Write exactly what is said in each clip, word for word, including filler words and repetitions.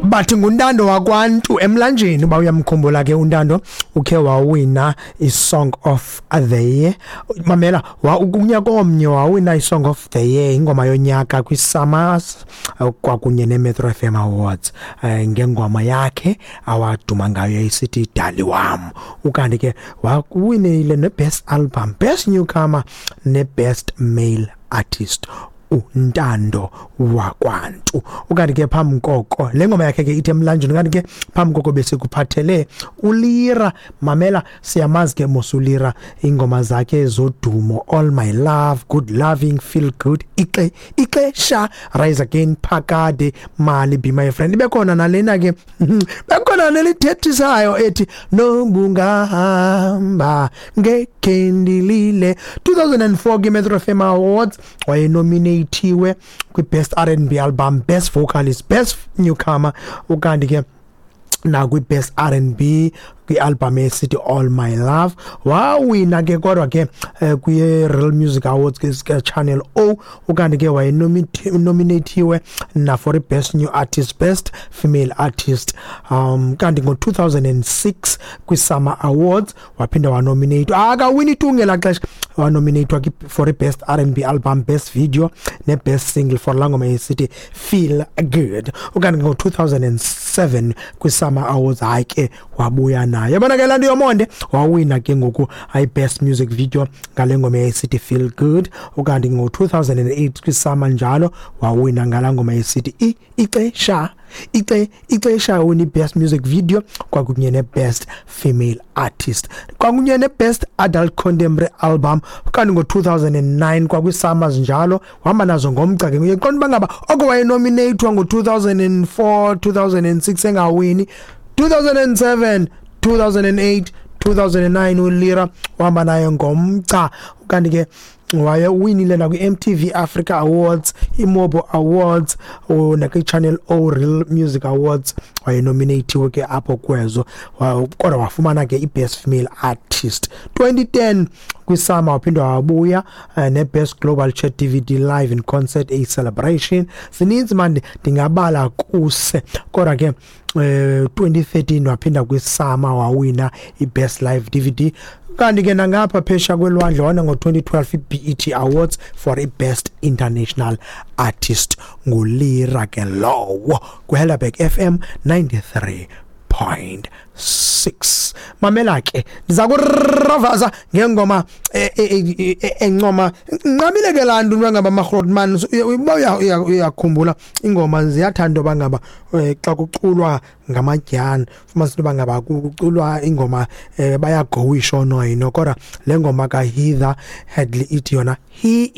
Bathi nguNtando wakwaNtu emlanjeni. Uba uyamkhumbula ke uNtando, ukhe wawina i-Song of the Year. Mamela, kunyaka omnye wawina i-Song of the Year, ingoma yonyaka, kwi-SAMAs kwakunye ne-Metro F M Awards eh, ngengoma yakhe awaduma ngayo isithi "Dali Wam". Ukanti ke wawinile ne-Best Album, Best Newcomer ne-Best Male Artist, uNtando wakwaNtu. Ukanti ke phambi koko, le ngoma yakhe ke ithi "Emlanjeni". Ukanti ke phambi koko besikuphathele uLira. Mamela, siyamazi ke mos uLira, ingoma zakhe zodumo: "All My Love", "Good Loving", "Feel Good", ixe ixesha "Rise Again", "Phakade", "Mali", "Be My Friend". Ibe khona nalena ke, bekhona nelithethisayo ethi "Nobungahamba Ngekhe Ndilile". two thousand four ke Metro F M Awards wayenominatiwe kwi-Best R and B Album, Best Vocalist, Best Newcomer, ukanti ke nakwi-Best R and B kwi-album esithi "All My Love". Wawina ke kodwa ke eh, kwi-Real Music Awards ke Channel O. Ukanti ke wayenominatiwe na for i-Best New Artist, Best Female Artist. um kanti ngo-two thousand six kwi-SAMA Awards waphinda wanominate, akawini tu ngelaa xesha. Wanominatwa for i-Best R and B Album, Best Video ne-Best Single for laa ngoma esithi "Feel Good". Ukanti ngo-two thousand seven kwi-SAMA Awards, hayi ke wabuya nayo, yabona ke laa nto yomonde, wawina ke ngoku i-Best Music Video ngale ngoma yayisithi "Feel Good". Ukanti ngo-two thousand eight kwi-SAMA njalo wawina ngalaa ngoma yayisithi ixesha ixe ixesha win i-Best Music Video kwakunye ne-Best Female Artist kwakunye ne-Best Adult Contemporary Album. Kanti ngo-two thousand nine kwakwi-SAMAs njalo wahamba nazo ngomgca ke. Uyeqonda uba ngaba oko wayenominatwa ngo-two thousand four, two thousand six, engawini. two thousand seven, two thousand eight, two thousand nine, uLira uhamba nayo ngomgca. Kanti ke waye uwinile nakwi-M T V Africa Awards, iMobo Awards, nakwi-Channel O Real Music Awards wayenominatiwe ke apho kwezo, kodwa wafumana ke i-Best Female Artist. twenty ten kwi-SAMA waphinda wabuya uh, ne-Best Global Chat D V D Live in Concert, a Celebration. Zininzi mani, ndingabala kuse. Kodwa ke eh twenty thirteen waphinda kwi-SAMA wawina i-Best Live D V D. Kanti ke nangapha phesha kwelwandle wona ngo-twenty twelve i-B E T Awards for i-Best International Artist. NguLira ke lowo kwiHelderberg F M ninety-three point six. Mamela ke, ndiza kuravaza ngengoma encoma. Nqabile ke laa nto ngaba magrootman, uba uyakhumbula, ingoma ziyathanda uba ngaba xa kuculwa ngamadyana, fumanise into yoba ngaba kuculwa ingoma, bayagowisha oonoyino. Kodwa le ngoma kaHeather Hadley ithi yona "He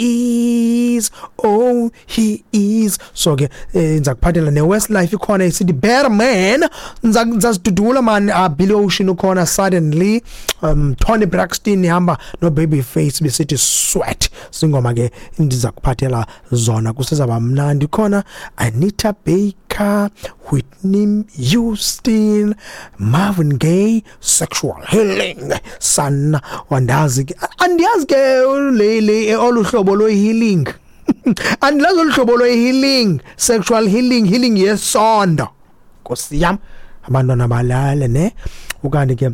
Is, Oh He Is". So ke ndiza kuphathela neWestlife, ikhona isithi "Better Man". Ndizazidudula man. uh, Billy Ocean ukhona, "Suddenly". um Toni Braxton ihamba no Babyface besithi "Sweat". Singoma ke ndiza kuphathela zona, kusezaba mnandi. Khona Anita Baker, Whitney Houston, Marvin Gaye, "Sexual Healing". Sana wandazi ke, andiyazi ke le le oluhlobo lo healing, andilazi olu hlobo lo healing, sexual healing, healing yesondo. Nkosi yam, abantwana balale ne. Ukanti ke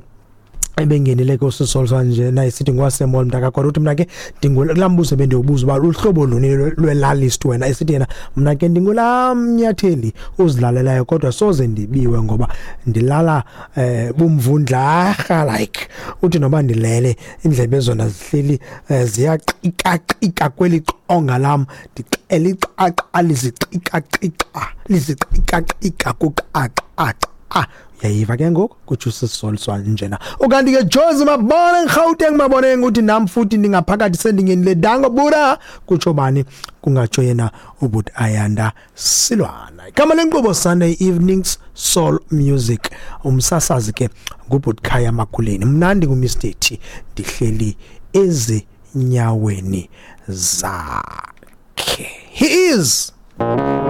ebengenile ke usisolwa nje naye sithi ngwasemall mntaka, kodwa uthi mna ke ndingulaa mbuzo bendiwubuza uba luhlobo luni lwelalist wena. Esithi yena, mna ke ndingulaa mnyatheli uzilalelayo, kodwa soze ndibiwe ngoba ndilala eh bumvundlarha. Like uthi noba ndilele, indlebe zona zihleli eh, ziyaqikaqika kweli qonga lam, ndixela iqaqa liziqikaqika liziqikaqika kuqaqa. Uyayiva ke ngoku, kutsho usisoliswa njena. Ukanti ke Jozi Maboneng, Gauteng, Maboneng uthi nam futhi ndingaphakathi, sendingenile, dango bura. Kutsho bani? Kungatsho yena ubut Ayanda Silwana. Igama lenkqubo, Sunday Evenings Soul Music. Umsasazi ke ngubut Khaya Makuleni, mna ndingu-Mister T, ndihleli ezinyaweni zakhe. He is.